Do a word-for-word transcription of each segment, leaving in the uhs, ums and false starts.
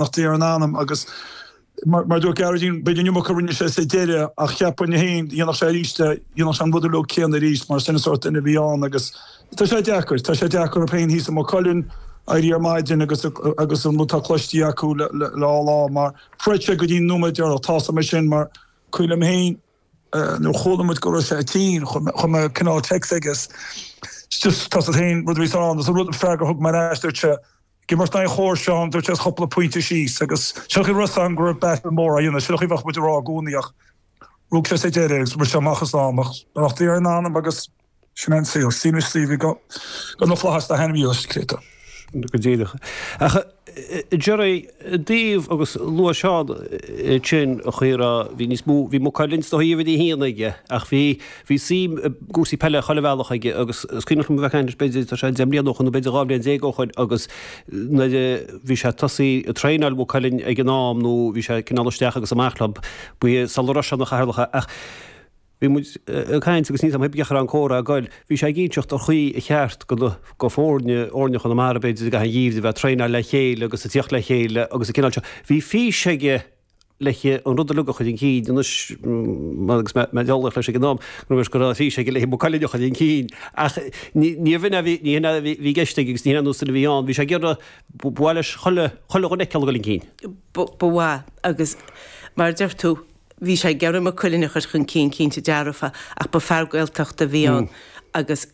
Beannacht Dé ar an anam agus mar mar dúirt Gearóidín b'fhéidir an iomarca a rinne sé sa deireadh ach cheapfainn féin dhéanfadh sé arís é, dhéanfadh sé an rud uilig céanna arís mar sin an sórt duine a bhí ann agus tá sé deacair, tá sé deacair orthu féin thíos i Maigh Cuilinn éirí ar maidin agus agus an rud atá cloiste acu le le le lá mar throid sé go dtí an nóiméad deireanach, tá's agam é sin mar cuimhin liom féin nuair a chuala muid go raibh sé tinn chuir mé cineál text aige just tá féin rud a bhí ann, an rud freagra a thug mé ar ais dúirt sé ag imirt in aghaidh Chór Seán dúirt sé is cúpla pointe síos agus seo chuir rud an go raibh battle mór á dhéanamh, seo chuir bheadh muid ag rá i gcónaí ach rug sé sa deireadh agus rug sé amach as am ach beannacht Dé ar an anam agus sin é an saol, Stephen Stevie go go na flaithis dá hainm dhílis Créata. Go díreach. Ach Jerry, daoibh agus luaigh Seán sin a chaora bhí níos mó, bhí Maigh Cuilinn is dóigh uimhir a haon aige ach bhí bhí suim i gcúrsaí peile chuile bhealach aige agus is cuimhneach liom a bheith ag caint leis b'fhéidir tá sé deich mbliana ó shoin nó b'fhéidir dhá bhliain déag ó shoin agus nuair a bhí sé tosaí ag traenáil Mhaigh Cuilinn ag an am nó bhí sé cineál isteach agus amach leo ba sula raibh sé ina chathaoirleach ach Bhí muid ag caint agus níl 's a'm cén chaoi a raibh an comhrá ag goil. Bhí sé ag inseacht ar chaoi ar cheart go na go foirne fhoirne Chonamara b'fhéidir i gcaitheamh an gheimhridh a bheith ag traenáil le chéile agus ag tíocht le chéile agus an cineál seo. Bhí fís aige le an rud uilig a chur chun cinn anois agus mé mé ag eolaíocht leis ag an am go raibh go raibh fís aige le Maigh Cuilinn a chur chun cinn ach ní níorbh in a bhí ní hin a bhí i gceist aige agus ní hin an nós a bhí ann. Bhí sé ag iarraidh ba mhaith leis chuile chuile dhuine a fheiceáil ag dul chun cinn. Ba ba mhaith agus mar a deir tú Bhí sé ag iarraidh Maigh Cuilinn a chur chun cinn, cinnte dearfa, ach ba fear Gaeltachta a bhí ann agus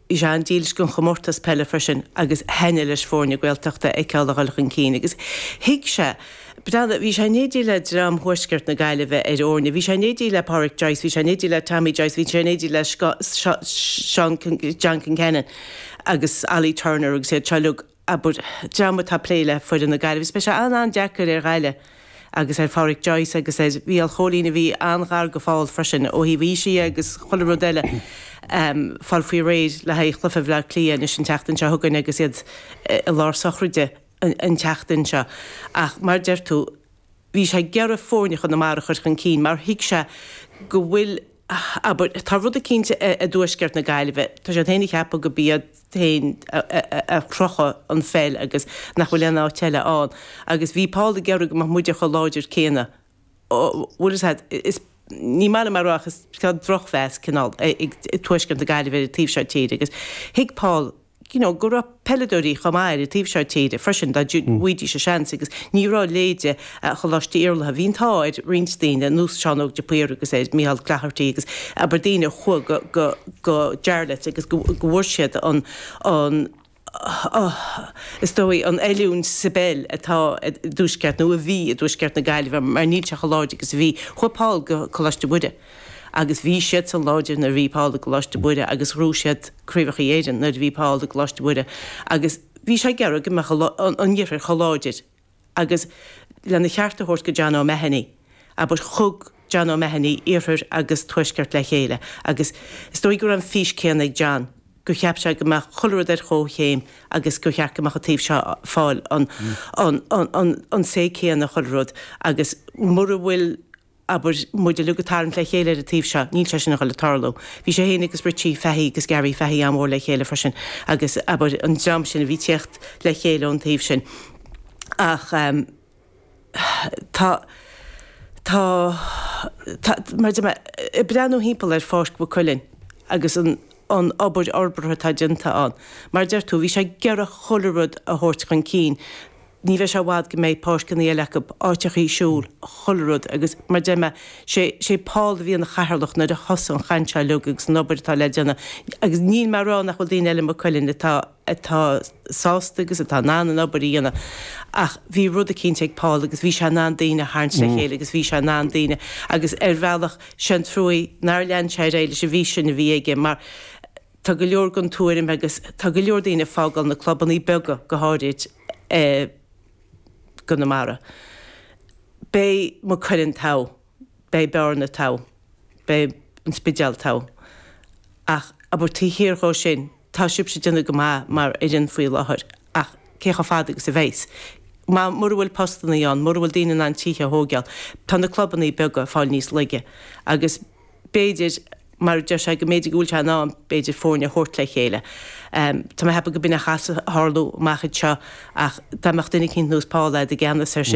bhí sé an-dílis don chomórtas peile freisin agus thaitnigh leis foirne Gaeltachta a fheiceáil a dhul chun cinn agus thuig sé, breathnaigh, bhí sé in éindí le dream Thuaisceart na Gaillimhe ar fhoirne, bhí sé in éindí le Pádraic Joyce, bhí sé in éindí le Tommy Joyce, bhí sé in éindí le Seán, John Concannon agus Ollie Turner agus iad seo uilig. abair, dream atá ag plé le foireann na Gaillimhe. Is beidh sé an-an-deacair ar Ghaillimh agus ar Pháraic Joyce agus ar Mhícheál Chóilín a bhí an-ghar do Phól freisin ó thaobh aoise dhe agus chuile rud eile, fáil faoi réir le haghaidh chluiche Bhaile Átha Cliath anois an tseachtain seo chugainn agus iad i lár sochraide an tseachtain seo. Ach mar a deir tú, bhí sé ag iarraidh foirne Chonamara a chur chun cinn mar thuig sé go bhfuil, abair, tá rud eicínt i dtuaisceart na Gaillimhe, tá siad féin ag ceapadh go b'iad féin a chruthaigh an pheil agus nach bhfuil aon áit eile ann agus bhí Paul ag iarraidh go mbeadh muide chomh láidir céanna. Bhfuil fhios a'd, is, ní maith liom a rá ach is tá drochmheas cineál ag tuaisceart na Gaillimhe ar an taobh seo tíre agus thuig Paul you know, go raibh peileadóirí chomh maith ar an taobh seo tíre freisin dá bhfaighidís a seans agus ní raibh leithéide Choláiste Iarlatha. Bhí an t-ádh ar roinnt daoine, ar nós Seán Óg de Paor agus ar Micheál Cloherty agus abair daoine a chuaigh go, go, go Jarlath agus go, go bhfuair siad an, an, is dóigh, an oiliúint sa bpeil atá i dtuaisceart nó a bhí i dtuaisceart na Gaillimhe mar níl sé chomh láidir agus a bhí. Chuaigh Paul go Coláiste Mhuire. Agus bhí siadsan láidir nuair a bhí Paul i gColáiste Mhuire agus ghnóthaigh siad Craobhacha Éireann nuair a bhí Paul i gColáiste Mhuire agus bhí sé ag iarraidh go mbeadh an Iarthar chomh láidir agus lena cheart a thabhairt go John O'Mahony, abair, thug John O'Mahony Iarthar agus Tuaisceart le chéile agus is dóigh go raibh an fís céanna ag John, gur cheap sé go mbeadh chuile rud ar chomhchéim agus gur cheart go mbeadh an taobh seo ag fáil an an an an say céanna chuile rud agus mura bhfuil abair, muid uilig ag tarraingt le chéile ar an taobh seo, níl sé sin a dhul ag tarlú. Bhí sé féin agus Richie Fahy agus Gary Fahy an-mhór le chéile freisin agus, abair, an dream sin a bhí ag tíocht le chéile ón taobh sin. Ach tá, tá, tá, mar a deir mé, ag breathnú thimpeall ar Pháirc Mhaigh Cuilinn agus an, an obair fhorbartha atá déanta ann, mar a deir tú, bhí sé ag iarraidh chuile rud a thabhairt chun cinn. Ní bheidh sé i bhfad go mbeidh páirceanna eile acu, áiteachaí siúil, chuile rud agus mar deir mé, sé, sé Paul a bhí ina chathaoirleach nuair a thosaigh an chaint seo uilig agus an obair atá le déanamh agus níl mé ag rá nach bhfuil daoine eile i Maigh Cuilinn atá, atá sásta agus atá in ann an obair a dhéanamh ach bhí rud eicínt ag Paul agus bhí sé in ann daoine a tharraingt le chéile agus bhí sé in ann daoine agus ar bhealach sé an truaí nár lean sé ar aghaidh leis an bhfís sin a bhí aige mar tá go leor den tuairim agus tá go leor daoine ag fágáil na clubannaí beaga go háirid i gConamara. Beidh Maigh Cuilinn togha, beidh Bearna togha, beidh an Spidéal togha. Ach abair taobh thiar dhó sin, tá sibhse ag déanamh go maith mar fhoireann faoi láthair ach cé chomh fada agus a bheas? Má, mura bhfuil postannaí ann, mura bhfuil daoine in ann tithe a thóigeáil, tá na clubannaí beaga ag fáil níos laige agus b'fhéidir, mar a deir sé go mb'fhéidir go bhfuil sé in am b'fhéidir foirne a thabhairt le chéile. Tá mé ag ceapadh go b'in a chaithfeas a tharlú amach anseo ach dá mbeadh duine eicínt nós Paul agat i gceannas air sin,